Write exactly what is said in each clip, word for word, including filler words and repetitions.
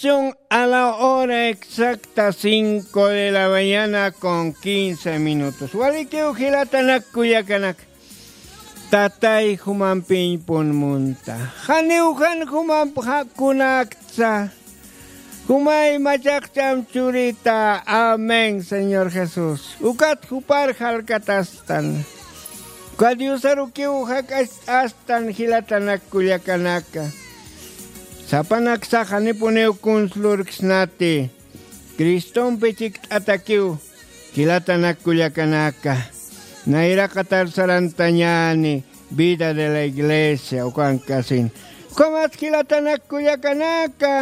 Son a la hora exacta, cinco de la mañana con quince minutos. Walikiw jilatanak kullakanak. Tatay jumampiñpun munta. Janiw jan jumamp jakunaktsa. Jumay machaqcham churita. Amén, Señor Jesús. Ukat jupar jalkatastan. Uka Diosarukiw jak'acht'astan jilatanak kullakanaka. Sapanaksa janipuniw kunslurksnati. Cristompi chikt'atakiw jilatanak kullakanaka. Nayraqatar sarantañani vida de la iglesia ukankasin. Ukamat jilatanak kullakanaka.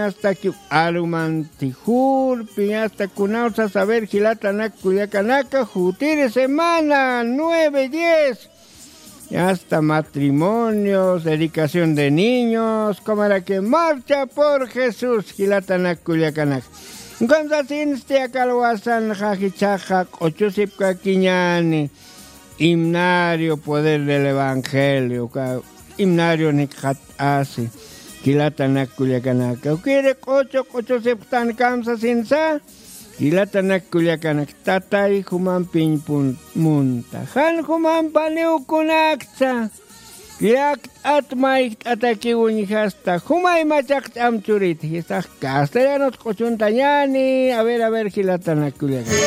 Hasta que arumanti jurpi hasta kunawsa saber jilatanak kullakanaka jutiri semana nueve diez. Hasta matrimonios, dedicación de niños, como era que marcha por Jesús, jilatanak kullakanak. Entonces, este acalwasan jajichaja, ocho sipka kiñani, himnario, poder del evangelio, ka, himnario ni jat asi, jilatanak kullakanaka. Ukiri ocho, ocho siptan kamsa sinsa, jilatanak kullakanak, tatay jumampiñpun munta. Jan jumampaniw kunakta. Llakt'at maykt'atakiw uñjasta. Jumay machaq ch'am churita. Jistax castellanos q'uchuntañani. A ver, a ver, jilatanak kullakanak.